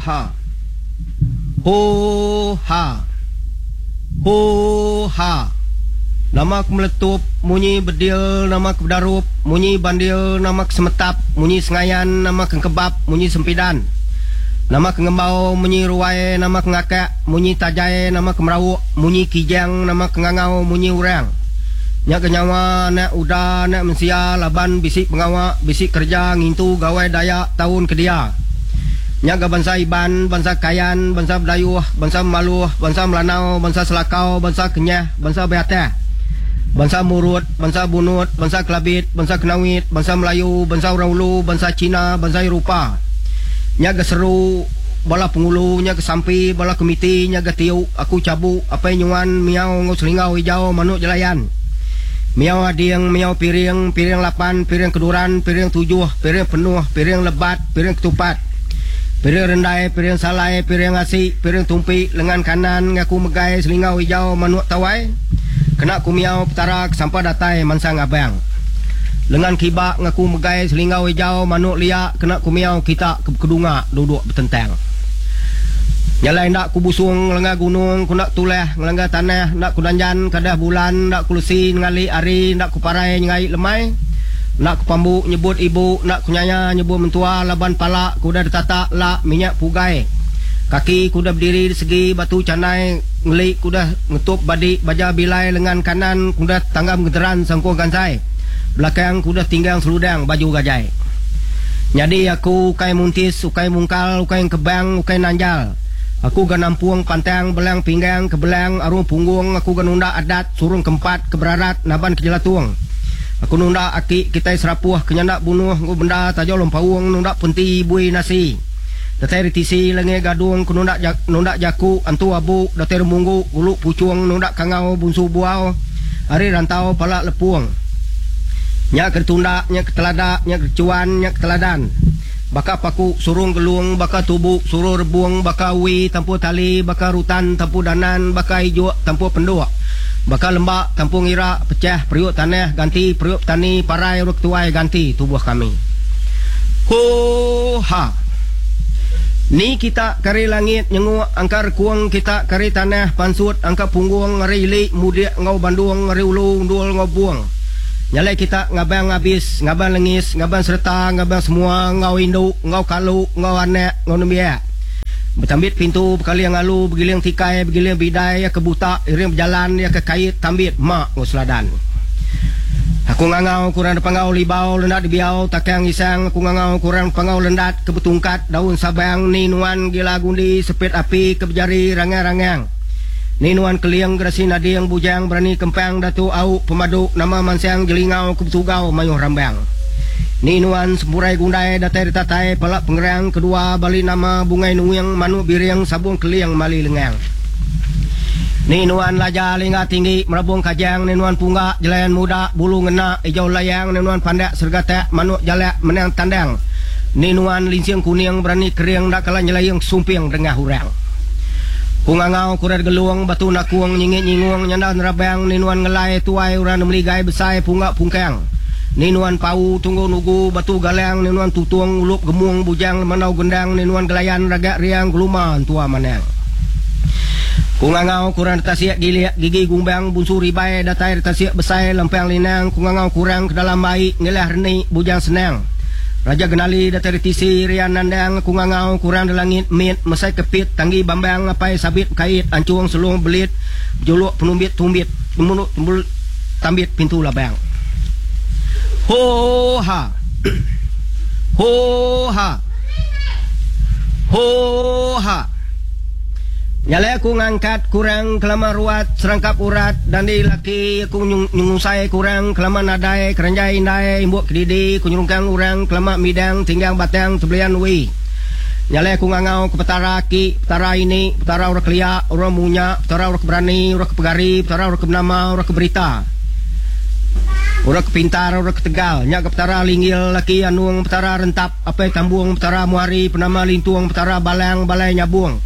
Ha. Hoo ha. Hoo ha. Nama ke meletup munyi bedil nama ke bedarup munyi bandil nama ke semetap munyi sengayan nama ke engkebap munyi sempidan nama ke ngembau munyi ruai nama ke ngakak munyi tajai nama ke merauk munyi kijang nama ke ngangau munyi orang nya ke nyawa anak uda anak mensia laban bisi pengawa bisi kereja ngintu gawai Dayak taun ke dia. Nya ga bansa Iban, bansa Kayan, bansa Bidayuh, bansa Memaluh, bansa Melanau, bansa Selakau, bansa Kenyah, bansa Beatah, bansa Murut, bansa Bunut, bansa Kelabit, bansa Kenawit, bansa Melayu, bansa Orang Ulu, bansa China, bansa Eropah. Nya ga seru bala pengulu, nya ga sampi bala komiti, nya ga tiu aku chabu, apai nyuan, miau enggau selinggau ijau manuk jelayan. Miau ading, miau piring, piring lapan, piring keduran, piring tujuh, piring penuh, piring lebat, piring ketupat, piring rendai, piring salai, piring asi, piring tumpi, lengan kanan ngaku megai selingau ijau manuk tawai, kena ku miau Petara ke sampa datai mansang abang. Lengan kiba ngaku megai selingau ijau manuk lia kena ku miau kita ke bekedunga duduk betentang. Nya alai enda ku busung ngelengga gunung, ku enda tulah ngelengga tanah, enda ku danjan kadah bulan, enda ku lesi nengali hari, enda ku parai nyengai lemai, enda ku pambu nyebut ibu, enda ku nyaya nyebut mentua laban pala ku udah ditata la minyak pugai. Kaki ku udah bediri di segi batu chanai, ngeli ku udah ngetup badi baja bilai lengan kanan ku udah tanggam genteran sangkung gansai, belakang ku udah tinggang seludang baju gajai. Nyadi aku ukai muntis, ukai mungkal, ukai engkebang, ukai nanjal. Aku ga nampung pantang belang pinggang ke belang arung punggung, aku ga nunda adat surung kempat ke berarat naban ke jelatung. Aku nunda aki kitai serapuh ke nyanda bunuh enggau benda tajau lempaung nunda penti bui nasi. Datai ri tisi lenge gadung ku nunda nunda jaku antu abu datai remunggu gulu puchung nunda kangau bunsu buau ari rantau pala lepung. Nya ke ditunda, nya ke telada, nya ke dichuan, nya ke teladan. Baka paku surung gelung, baka tubu surung rebung, baka wi tampur tali, baka rutan tampur danan, baka ijuk tampur penduk. Baka lemba tampur ngira, pechah periuk tanah ganti periuk petani, parai urang ketuai ganti tubuh kami. Hoo ha. Ni kita ke ari langit nyenguk angka rekung kita ke ari tanah pansut angka punggung ari ili mudik enggau bandung ari ulu undul enggau bung. Nya alai kita ngabang abis, ngabang lengis, ngabang sereta, ngabang semua enggau indu, enggau kalu, enggau anak, enggau nembiak. Betambit pintu, bekaling alu, begiling tikai, begiling bidai, iya ke buta, iring bejalan, iya ke kait, tambit, ma enggau seladan. Aku ngangau ke orang depangau libau lendat dibiau takang isang aku ngangau ke orang depangau lendat ke betungkat daun sabang ni nuan gila gundi sepit api ke bejari rangang-rangang ni nuan keling gerasi nading bujang berani kempang datu au pemadu nama mansang jelingau ke betugau mayuh rambang ni nuan sempurai gundai datai ditatai pala pengerang kedua bali nama bungai nuing manuk biring sabung keling mali lengang. Ni nuan laja lingga tinggi merabung kajang ni nuan pungga jelayan muda bulu ngena ijau layang ni nuan pandak sergatak manuk jalak menang tandang ni nuan linsing kuning berani kering enda kala nyelaing sumping dengah urang. Ku ngangau ku red gelung batu nakung nyingit nyingung nyanda nerabang ni nuan ngelai tuai urang nemeligai besai pungga pungkang ni nuan pau tunggu nugu batu galang ni nuan tutung ulup gemung bujang lemandau gendang ni nuan gelayan ragak riang geluma entua manang. Ku ngangau kurang tasik gilik gigi gumbang bunsu ribai datai ari tasik besai lempang linang ku ngangau kurang ke dalam ai ngilah reni bujang senang Raja Genali datai ari tisi rian nandang ku ngangau kurang di langit mit mesai kepit tanggi bambang apai sabit bekait anchung selung belit bejuluk penumbit tumbit tembul tambit pintu labang. Hoo ha. Hoo ha. Hoo ha. Nya alai aku ngangkat kurang kelama ruat serangkap urat dandi laki aku nyengusai kurang kelama nadai keranjai indai imbuk kedidi ku nyerungkang urang kelama midang tinggang batang tebelian wi. Nya alai aku ngangau ke petara aki, petara ini, petara orang kelia, orang munya, petara orang ke berani, orang ke pegari, petara orang ke benama, orang ke berita. Orang ke pintar, orang ke tegal. Nya ga petara linggil laki anung, petara rentap. Apai Tambung, Petara Muari, Penama Lintung, Petara Balang, Balai Nyabung,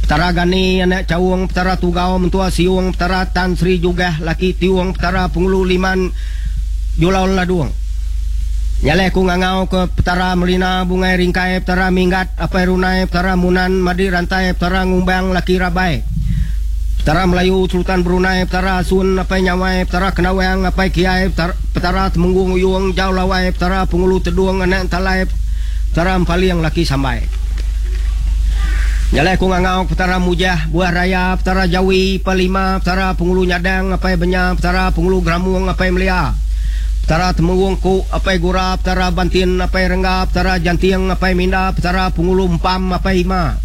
Petara Gani, Anak Chaung, Petara Tugau, Mentua Siung, Petara Tan Sri Jugah, Laki Tiung, Petara Pengulu Liman, Julau Ladung. Nya alai aku ngangau ke Petara Melina Bungai Ringkai, Petara Minggat Apai Runai, Petara Munan Madi Rantai, Petara Ngumbang Laki Rabai, Petara Melayu Sultan Brunei, Petara Asun Apai Nyawai, Petara Kendawang Apai Kiai, Petara Temenggung Uyung Jau Lawai, Petara Pengulu Tedung Anak Entalai, Petara Empaling Laki Sambai. Nya alai aku ngangau ke Petara Mujah Buah Raya, Petara Jawi Palima, Petara Pengulu Nyadang Apai Benya, Petara Pengulu Geramung Apai Melia, Petara Temenggung Ku, Apai Gura, Petara Bantin, Apai Rengga, Petara Janting, Apai Minda, Petara Pengulu Empam, Apai Ima,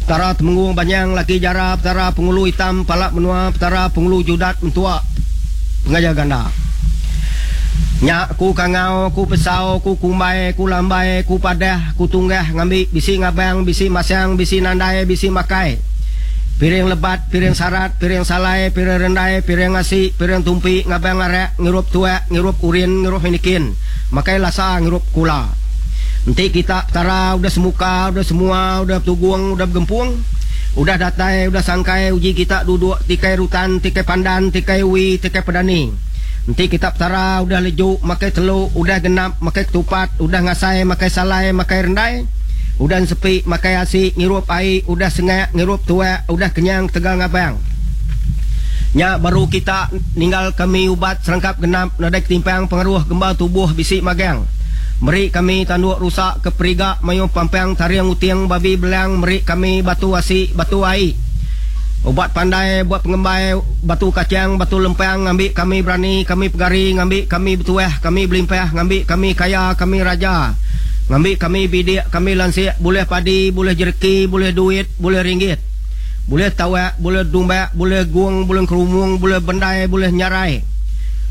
Petara Temenggung Banyang, Laki Jara, Petara Pengulu Itam, Pala Menua, Petara Pengulu Judat, Mentua, Pengajar Ganda. Nya ku kangau, ku pesau, ku kumbai, ku lambai, ku padah, ku tunggah ngambi bisi ngabang, bisi masang, bisi nandai, bisi makai. Piring lebat, piring sarat, piring salai, piring rendai, piring asi, piring tumpi, ngabang arak, ngirup tuak, ngirup urin, ngirup hinikin, makai lasa, ngirup kula. Enti kita Petara udah semuka, udah semua, udah betugung, udah begempung, udah datai, udah sangkai, uji kita duduk tikai rutan, tikai pandan, tikai wi, tikai pedani. Enti kita Petara udah leju, makai telu, udah genap, makai ketupat, udah ngasai, makai salai, makai rendai, Udah ensepi makai asi ngirup ai, udah sengak ngirup tuak, udah kenyang ketegal ngabang. Nya baru kita ninggal kami ubat serangkap genap nadai ketimpang pengaruh gemba tubuh bisi magang. Meri kami tanduk rusa ke periga mayuh pampang taring uting babi belang meri kami batu asi batu ai. Ubat pandai buat pengembai batu kachang batu lempang ngambi kami berani kami pegari ngambi kami betuah kami belimpah ngambi kami kaya kami raja. Ngambi kami bidik, kami lansik, bulih padi, bulih jereki, bulih duit, bulih ringgit. Bulih tawak, bulih dumbak, bulih gung, bulih engkerumung, bulih bendai, bulih nyarai.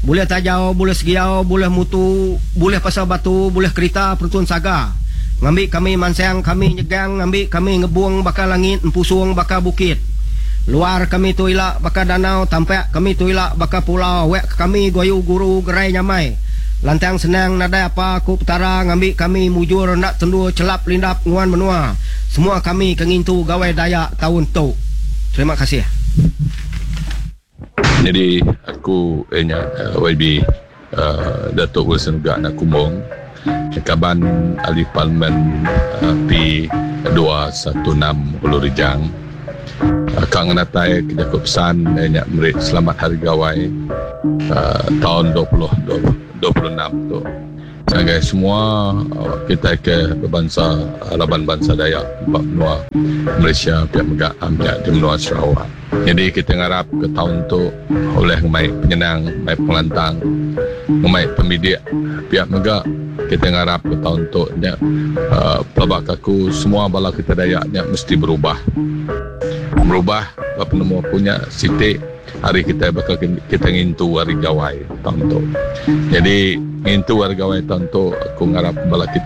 Bulih tajau, bulih segiau, bulih mutu, bulih pasal batu, bulih kerita perutun saga. Ngambi kami mansang, kami nyegang, ngambi kami ngebung baka langit, empusung baka bukit. Luar kami tu ila baka danau, tampak kami tu ila baka pulau, awak ke kami guayu guru gerai nyamai. Lantang senang nadai apa ku Petara ngambi kami mujur enda tendur chelap lindap nguan menua semua kami ke ngintu Gawai Dayak taun tu. Terima kasih. Nyadi aku iya nya YB Datuk Wilson Ugak anak Kumbong kaban ahli parlimen P216 Ulu Rejang. Ka ngenatai ke jaku pesan iya nya meri selamat Hari Gawai taun 2026 tu ngagai semua kitai ke bebansa raban bansa Dayak ba menua Malaysia pia mega nya di menua Sarawak. Nyadi kitai ngarap ke taun tu ulih ngemai penyenang, ngemai pengelantang, ngemai pemidik pia mega kitai ngarap ke taun tu nya pelaba ke aku semua bala kitai Dayak nya mesti berubah. Berubah ba penemu aku nya siti hari kitai baka kitai ngintu hari gawai taun tu. Nyadi ngintu hari gawai taun tu aku ngarap bala kitai.